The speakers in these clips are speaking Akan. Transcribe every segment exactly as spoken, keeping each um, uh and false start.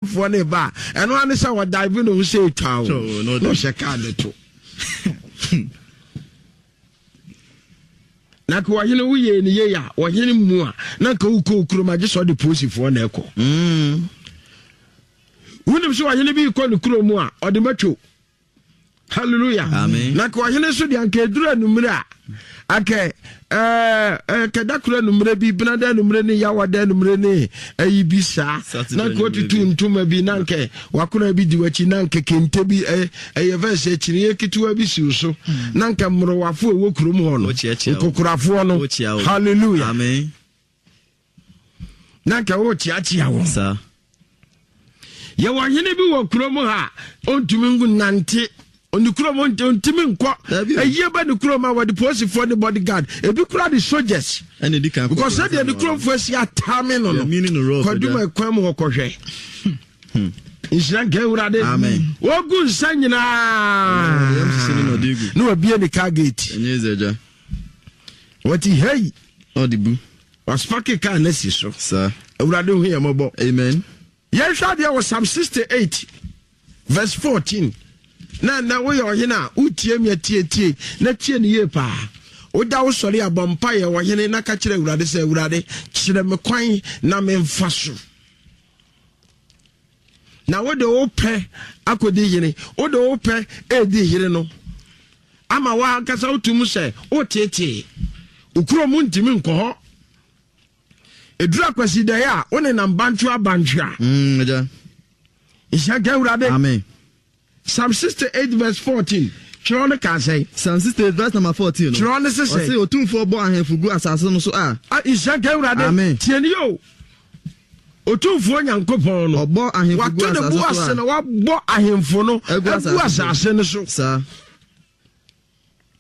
Foɔ no ba a, ɛno ara ne sɛ wɔdive ne ho sɛ ɛtwa o, na ɔhyɛ kaa ne to. Na ka ɔhene woyɛ ne yei a, ɔhene mu a, na nka wokɔ wo kurom agye sɛ ɔde polisifoɔ na ɛkɔ. Mm. Wonim sɛ ɔhene bi kɔ ne kurom a, ɔde matwo. Hallelujah. Amen. Na ka ɔhene nso deɛ anka ɛduru anummerɛ a, anka ɛɛ kɛda koro anummerɛ bi, benada anummerɛ ne yawada anummerɛ ne ayi bi saa, na nka watutu ntoma bi, na nka wakona bi di w'akyi, na nka kente bi ɛyɛ fɛ sɛ kyiniiɛ ketewa bi siw so, hmm. na nka mmorowafoɔ ɛwɔ kurom hɔ no, nkokorafoɔ no. Hallelujah. Amen. Na nka worekyeakyea wɔn. Saa. Yɛwɔ hene bi wɔ kurom ha a ɔntumi nante ne kurom, ɔntumi nkɔ ayie ba ne kurom a wɔde polisifoɔ ne bodyguard, ebi kura de soldiers, because sɛdeɛ ne kuromfoɔ asi atame no no kwaduma kwan mu hɔ kɔhwɛ. Hmm. Nhyira nka Awurade. Wɔgu nsa nyinaa na wabie ne car gate, wɔte hei. Ɔde bu. Wasopake kaa no asi so. Saa. Awurade hu yɛn mmɔbɔ. Amen. Yɛnhwɛ adeɛ wɔ Psalm sixty-eight verse fourteen. Na na woyɛ ɔhene a wotie mi atietie na tie ne yie paa. Woda wo sɔre a, bɔ mpaeɛ ɔhene na ka kyerɛ Awurade sɛ, Awurade, kyerɛ me kwan na memfa so. Na wode wo pɛ akɔdi hene, wode wo pɛ ɛredi hene no ama woankasa wotum sɛ wotetee wo kurom ntumi nkɔ hɔ. Ɛduru Akwasidɛeɛ a, wo nenam bantwea bantwea. Mm, nhyira nka Awurade. Amen. Psalm sixty-eight verse fourteen, twerɛ no kaa sɛn? Psalm sixty-eight verse number fourteen no. Twerɛ no se sɛn? Ɔse Otumfoɔ bɔ ahemfo gu asase no so a. Nhyira nka Awurade. Amen. Tie nie o. Otumfoɔ Nyankopɔn no. Ɔbɔ ahemfo gu Wato ne asase bo so ase a. na wabɔ ahemfo no Agu agu asase so. asase no so. Saa.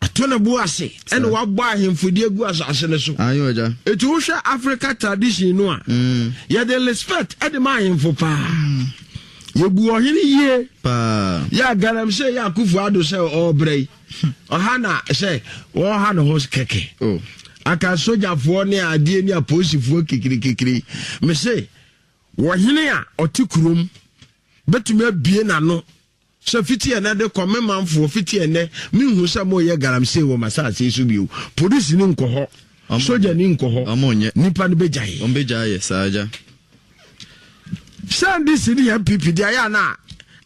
Ato ne bo ase ɛna wabɔ ahemfo de agu asase no so. Ayo agya. Eti wohwɛ Africa tradition no a, mm. yɛde respect ɛde ma ahemfo paa. Mm. Yɛbu ɔhene yie paa. Yɛ galamsey yɛ Akufo Addo sɛ ɔrebrɛ yi. Ɔha na sɛ wɔha ne ho kɛkɛ. Oh. Aka sogyafoɔ ne adeɛ ne apolisifoɔ kikirikikiri. Mese wɔhene a ɔte kurom bɛtumi abie n'ano sɛ fiti ɛnɛ de kɔ, me manfoɔ, fiti ɛnɛ menhu sɛ moyɛ galamsey wɔ m'asase so bio. Polisi ni nkɔ hɔ, sogya ni nkɔ hɔ, nipa no bɛgyae. Wɔn bɛgyae saa agya. Sɛ N D C ne N P P deɛ, ayɛ a na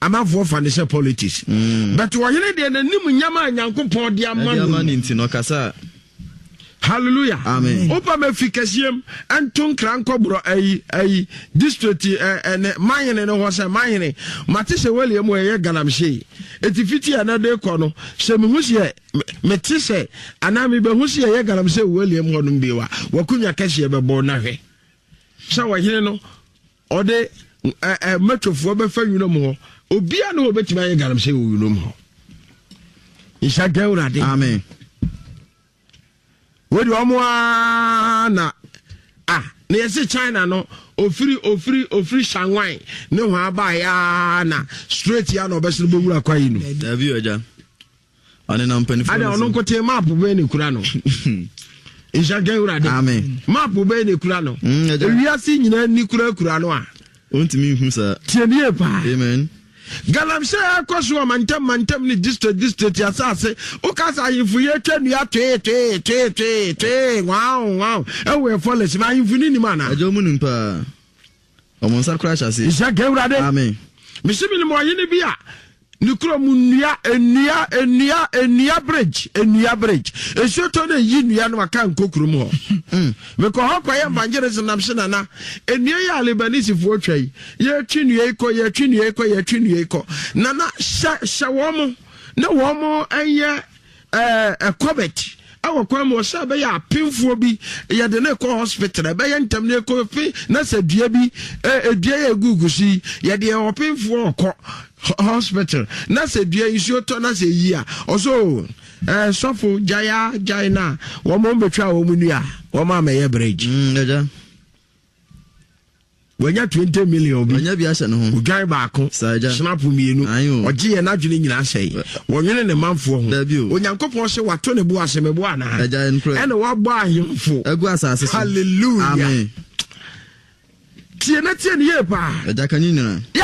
amanfoɔ fa ne sɛ politics mm. But ɔhene deɛ, n'anim nyama a Nyankopɔn de ama no nti no ɔkasa. Hallelujah. Amen. Wopa ma fi kɛseɛm nto nkra nkɔborɔ ayi ayi district ɛne mahene no hɔ sɛ, mahene, mate sɛ wɔliɛ mu ɛyɛ galamsey, ɛti fiti a na de kɔ no, sɛ mehu sɛ mete sɛ anaa mebɛhu sɛ yɛyɛ galamsey wɔ mu hɔ nom bio a, wakonya kɛseɛ bɛbɔ. Na hwɛ sɛ ɔhene no ɔde mɛtwofoɔ bɛfa nwura mu hɔ, obia ne wɔbɛtumi ayɛ galamsey wɔ nwura mu hɔ. Nhyɛ nka Awurade. Amen. Wode ɔmo aa na ah na yɛse China no, ofiri ofiri ofiri Shanghai ne ho abaeɛ na straight ya na ɔbɛsene bɛwura kwa yi no. Dabi ɔgya, ɔnenam mpanimfoɔ. Ada ɔno nkote map bɛyɛ ne kura no. Nhyɛ nka Awurade. Amen. Map bɛyɛ ne kura no. Mm, ewiase nyinaa ni kura kura no a. Ɔntumi nhu saa. Tie nie paa. Amen. Galamsey ɛkɔ so wɔ mantam mantam ne district district asase. Woka sɛ ahemfo yi atwa nnua twee twee twee twee twee wow wow ɛwɔ ɛfɔlɛs ma ahemfo ne nim ana? Agya, ɔmu nim paa, ɔmo nsa kora ahyɛ aseɛ. Nhyɛ nka Awurade. Amen. Mesi menim ɔhene bi a ne kurom nnua nnua nnua nnua bridge nnua bridge, nsuo tɔ no eyi nnua no aka nkɔ kurom hɔ. mm. Mekɔ hɔ kɔyɛ evangelism nam se, nana, nnua yi a Lebanisifoɔ twa yi, yɛtwe nnua yi kɔ, yɛtwe nnua yi kɔ, yɛtwe nnua yi kɔ. Nana, hyɛ hyɛ wɔn mo na wɔn mo nyɛ ɛɛ ɛkɔbɛt ɛwɔ kwan mu ɔsɛ ɛbɛyɛ apemfoɔ bi yɛde ne kɔ hospital, ɛbɛyɛ ntɛm ne ɛkɔ fi na sɛ dua bi ɛ dua yɛ egugu so yi, yɛde ɔpemfoɔ ɔkɔ hospital na sɛ dua nsuo tɔ na sɛ yi a, ɔso ɛɛ sɔfo gyae gyae na wɔn mo bɛtwa wɔn nua wɔn amɛyɛ bridge. Mm, Wanya twenty million bi. Wanya bi ahyɛ ne ho. Odwan baako. Snap mmienu. Ɔgye yɛ n'adwene nyinaa sɛe. Wɔnwene ne manfoɔ ho. Dabi o. Onyankopɔn sɛ wato ne bo ase, mebo anaa? Ɛna wabɔ ahemfo agu asase so. Hallelujah. Amen. Tie na tie ne yie paa. Agya ka ne nyinaa. Yɛ.